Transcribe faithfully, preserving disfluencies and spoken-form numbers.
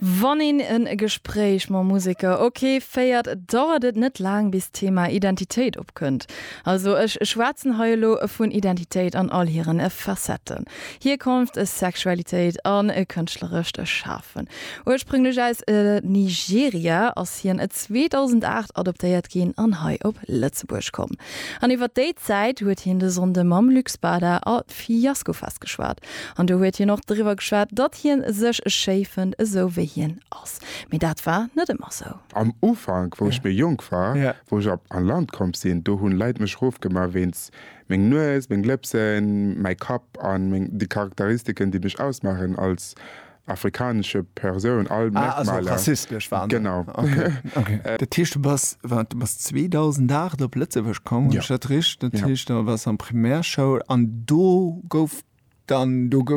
Wann een en Gespréich mam Museker ok féiert, dauert et net laang bis d'Thema Identitéit opkënnt. Also ech schwätzen hei elo vun Identitéit an all hiren Facetten. Hierkonft, Sexualitéit an kënschtlerescht Schafen. Ursprünglech aus Nigeria ass hien zweedausendacht adoptéiert ginn an hei op Lëtzebuerg komm. An iwwer déi Zäit huet hien de Sonnde mam Luc Spada a Fiaskofest geschwat. An do huet hien och driwwer geschwat, datt hien sech schéi fënnt esou wéi hien ass. Mee dat war net ëmmer sou. Am Ufank, wou ech méi jonk war, wou ech op an Land komm sinn, do hunn Leit mech rofgemaach wéinst meng Nues, meng Lëpsen, mäi Kapp an meng déi Charakteristiken, déi mech ausmaachen als afrikanesche Persoun, all Ah, also Merkmaler. rassistesch waren se. Genau. Okay, okay. Dat heescht, du bass, waart, du bass zweedausendacht op Lëtzebuerg komm, hunn Ja. ech dat richteg? Dat Ja. heescht, da waars an Primärschoul an do gouf dann, do gouf